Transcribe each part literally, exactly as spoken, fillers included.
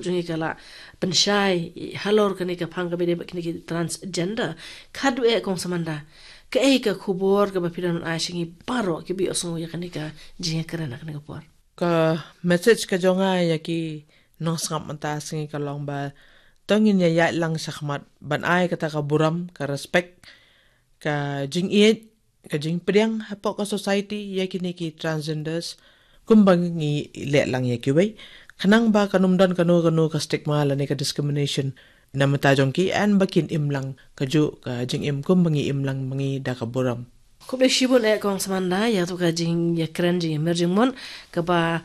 jong ngi ka la pynshai halor kane ka phang kaba ïadei bad kine ki transgender. Khadduh eh Kong Samanda, kaei ka khubor kaba phi don ban ai sha ngi baroh kiba ïohsngew ïa kane ka jingïakren ha kane ka por? Ka message ka jong nga ïa ki nongsngap mynta sha ngi ka long ba to ngin ïa ïaid lang shakhmat ban ai kata ka burom, ka respect, ka jingïeit, ka jingpdiang hapoh ka society ïa kine ki transgenders kumba ngi leh lang ïa kiwei, khnang ba kan ym don kano kano ka stigma lane ka discrimination na bynta jong ki, yn ba kin im lang kajuh ka jingim kumba ngi im lang ma ngi da ka burom. Khublei shibun eh Kong Samanda ïa tu ka jingïakren, jingïamir jingmut kaba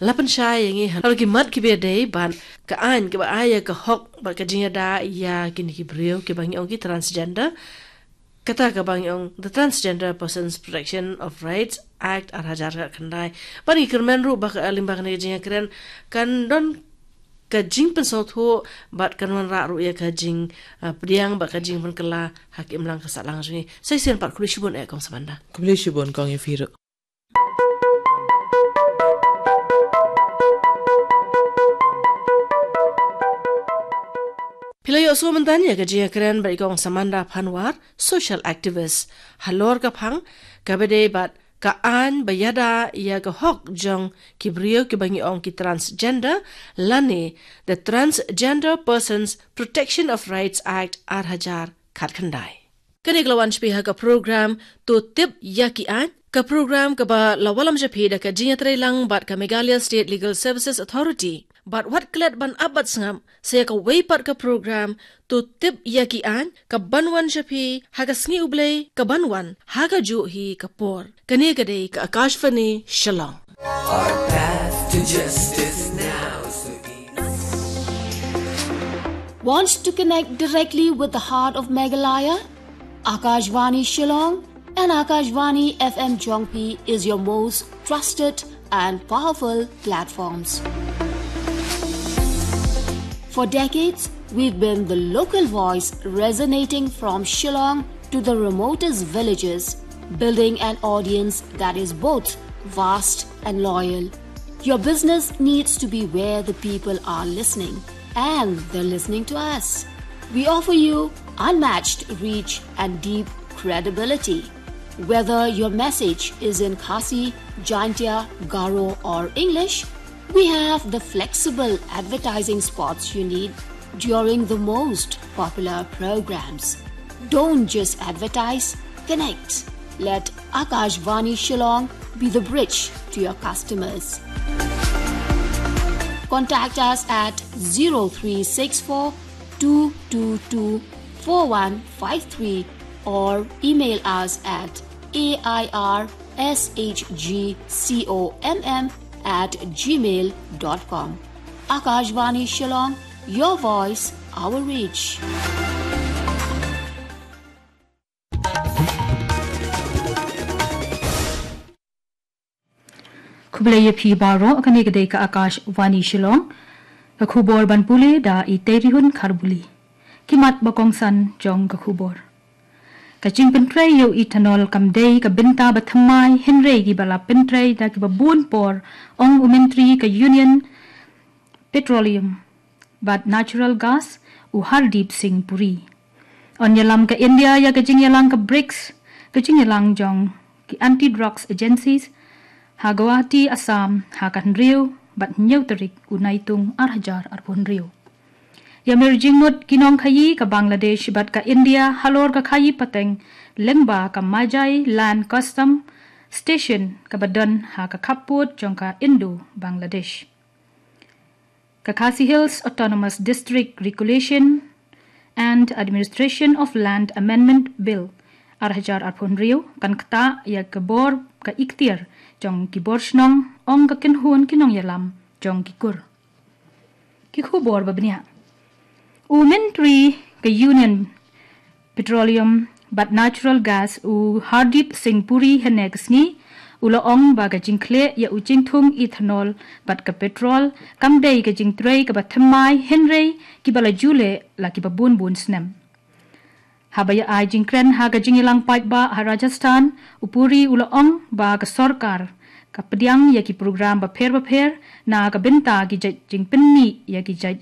la pynshai ïa ngi halor ki mat kiba ïadei bad ka aiñ kaba ai ïa ka hok bad ka jingïada ïa kine ki briew kiba ngi ong ki transgender. Kata kaba ngi ong the Transgender Persons Protection of Rights Act ar hajar khatkhyndai. Bad ngi kyrmen ruh ba ka, lyngba kane ka jingïakren kan don ka jingpynsngewthuh bad kan wanrah ruh ïa ka jing, ah, pdiang bad ka jingpynkylla ha ka imlang ka sahlang jong ngi. Sa shisien pat khublei shibun eh Kong Samanda. Khublei shibun Kong ïa phi ruh. Phi la ïohsngew mynta ïa ka jingïakren bad i Kong Samanda Panwar, social activist halor ka phang kaba ïadei bad ka aiñ ba ïada ïa ka hok jong ki briew kiba ngi ong ki transgender, lane the Transgender Persons Protection of Rights Act ar hajar khatkhyndai. Kane ka la wan sha phi ha ka program To Tip ïa ki Aiñ, ka program kaba la wallam sha phi da ka jingïatreilang bad ka Meghalaya State Legal Services Authority. Bad wat klet ban ap bad sngap, sa ïa kawei pat ka program To Tip ïa ki Aiñ, kaban wan sha phi ha ka sngi U Blei kaban wan ha kajuh hi ka por. Kane ka dei ka Akashvani Shillong. Our path to justice now so easy. Want to connect directly with the heart of Meghalaya? Akashvani Shillong and Akashvani F M Jongphi is your most trusted and powerful platforms. For decades, we've been the local voice resonating from Shillong to the remotest villages, building an audience that is both vast and loyal. Your business needs to be where the people are listening, and they're listening to us. We offer you unmatched reach and deep credibility. Whether your message is in Khasi, Jaintia, Garo, or English, we have the flexible advertising spots you need during the most popular programs. Don't just advertise, connect. Let Akashvani Shillong be the bridge to your customers. Contact us at zero three six four two two two four one five three or email us at A I R S H G C O M M at gmail dot com. Akashvani Shillong, your voice, our reach. Khublei ïa phi baroh, kane ka dei ka Akashvani Shillong. Ka khubor ban pule da i Teirihun Kharbuli. Ki mat ba kongsan jong ka khubor. Ka jingpyntrei ïa u ethanol kam dei ka bynta ba thymmai, hynrei kiba la pyntrei da kiba bun por, ong u Myntri ka Union Petroleum bad Natural Gas, u Hardeep Singh Puri. Yn ïalam ka India ïa ka jingïalang ka brics, ka jingïalang jong ki Anti-Drugs Agencies, ha Guwahati, Assam, ha ka hynriew bad hynñiew tarik u Naitung ar hajar arphew hynriew. Ïamir jingmut ki nongkhaïi ka Bangladesh bad ka India halor ka khaïi pateng lyngba ka Majai Land Custom Station kaba don ha ka khappud jong ka Indo-Bangladesh. Ka Khasi Hills Autonomous District Regulation and Administration of Land Amendment Bill ar hajar arphew hynriew kan ktah ïa ka bor ka ikhtiar jong ki bor shnong, ong ka kynhun ki nongïalam jong ki kur. Ki khubor ba bniah. U Myntri ka Union Petroleum bad Natural Gas u Hardeep Singh Puri hynne ka sngi u la ong ba ka jingkhleh ïa u jingthung ethanol bad ka petrol kam dei ka jingtrei kaba thymmai, hynrei kiba la ju leh la kiba bun bun snem. Haba ïa ai jingkren ha ka jingïalang paidbah ha Rajasthan, u Puri u la ong ba ka sorkar ka pdiang ïa ki program bapher bapher na ka bynta ki jait jingpynmih ïa ki jait